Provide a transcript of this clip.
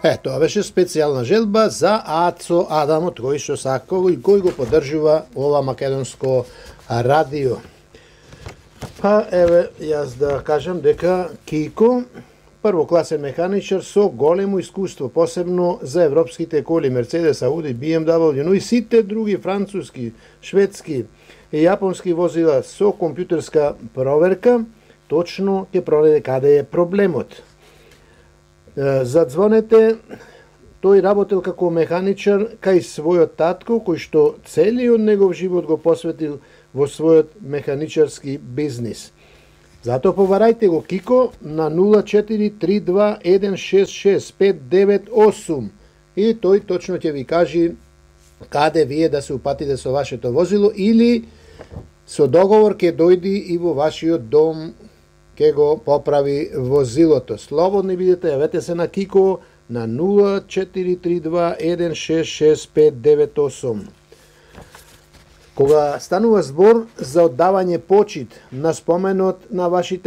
Тоа беше специјална желба за Ацо Адамот, кој што сакал и кој го поддржува ова македонско радио. Па еве јас да кажам дека Кико првокласен механичар со големо искуство, посебно за европските коли Мерцедес, Ауди, BMW, но и сите други француски, шведски и јапонски возила со компјутерска проверка, точно ќе пронајде каде е проблемот. Задзвонете, тој работел како механичар кај својот татко, кој што целиот негов живот го посветил во својот механичарски бизнис. Затоа побарајте го Кико на 0432166598 и тој точно ќе ви кажи каде вие да се упатите со вашето возило или со договор ќе дојди и во вашиот дом ќе го поправи возилото. Слободни бидете, јавете се на Кико на 0432166598. Кога станува збор за оддавање почит на споменот на вашите